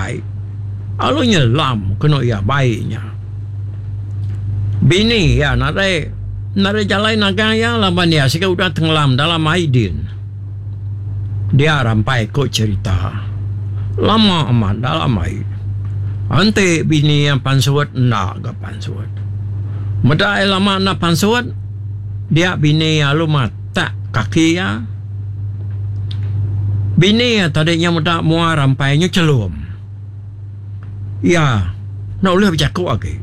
ai. Alu nyelam kenu iya bai nya. Bini iya nadai nadai jalai nagang iya laban iya siga udah tengelam dalam ai din. Dia rampai ku cherita. Lama amat dalam ai. Enti bini iya pansut enda ga pansut. Meda iya lama enda pansut dia bini iya lalu matak kaki iya. Bini iya tadi nya meda mua rampai nya chelum. Iya enda ulih bejaku agi.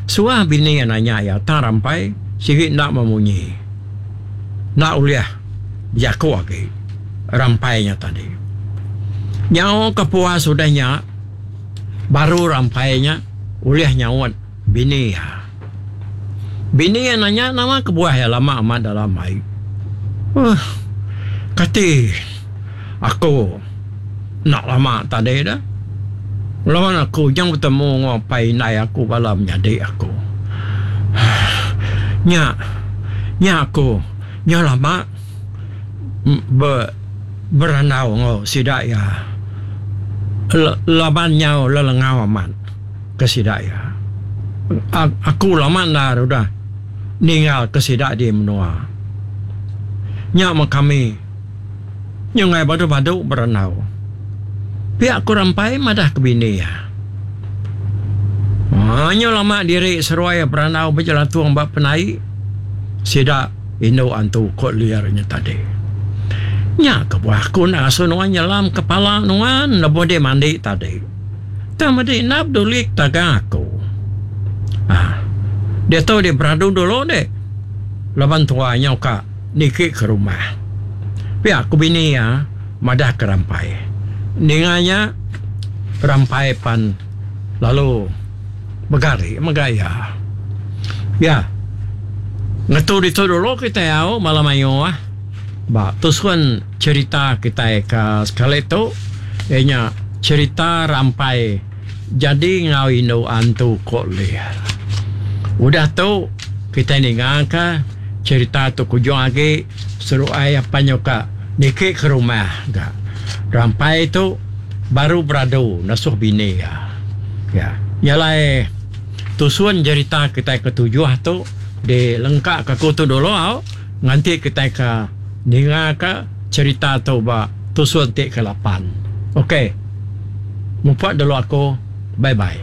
Suah bini iya nanya iya tang rampai sigi enda memunyi. Enda ulih bejaku agi rampai nya tadi. Nyau ke puas udah nya baru rampai nya ulih nyaut bini iya. Bini iya nanya nama kebuah iya lama amat dalam ai. Uhh kati aku enda lama tadi dah. Laban aku nyau betemu enggau apai indai aku bala menyadi aku. Nya nya aku nyau lama be berandau enggau sida iya laban nyau lelengau amat. Ke sida iya. Aku lama endar udah ninggal ke sida di menua. Nya meh kami nyunggai badu-badu berandau. Pia ku Rampai madah ke bini iya. Nya lama diri seruai berandau bejelatung ba penai sida indu antu ko Lir nya tadi. Nya kebuah aku enda ngasuh nuan nyelam kepala nuan lebuh dek mandi tadi. Tang medi enda peduli tagang aku. Aaa. Diatu dek beradu dulu dek. Laban tua nyau ka niki ke rumah. Pia ku bini iya madah ke Rampai. Ninga nya Rampai pan lalu begari mega iya. Ya. Ngetu ditu dulu kitai au bala mayuh. Ba tusun cherita kitai ke sekali tu iya nya cherita rampai jadi enggau indu antu ko Lir. Udah tu kitai ninga ka cherita tu kujung agi seruai apan nyuka niki ke rumah ga. Rampai tu baru beradu nasuh bini iya. Ya nya alai tusun cherita kitai ke tujuh tu dilengka ka aku tu dulu au. Nganti kitai ke ninga ka cherita tu ba tusun ti ke lapan. Ok. Mupok dulu aku. Bye bye.